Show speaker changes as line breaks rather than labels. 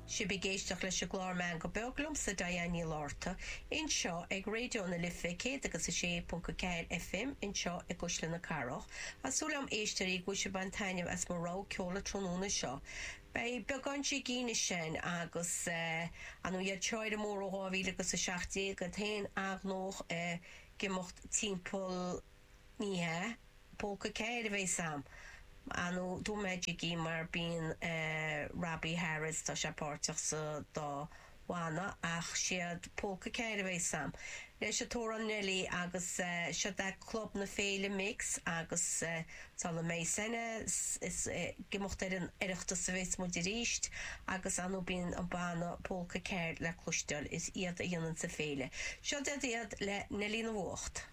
Sibh ag éisteacht leis an gclár Meangadh Beag liomsa Diane Ní Fhlatharta anseo ag Raidió na Life 106.4 FM anseo i gCuisle na Cathrach. Tá súil agam éisteoirí go bhfuil sibh ag baint taitneamh as mo rogha ceoil an tráthnóna seo. Beidh beagán jigín ansin agus ar ndóigh iad Seoire Mór ó 2017 iad féin an-ghnóthach ag imeacht timpeall Ní hea, Polca 4 a bheas a'm. Ar ndóigh, dúirt mé jigí mar bíonn Robbie Harris, tá sé páirteach sa dá bhanna, ach siad Polca 4 a bheas a'm. Leis an t-amhrán Nellie agus siod é Club na Féile Mix agus sula mbeidh seinne, is ag imeacht ar an Oireachtas a bheas muid arís agus ar ndóigh bíonn an banna Polca 4 le cloisteáil, is iad a dhéananns an féile. Siod iad le Neilí na bhFuacht.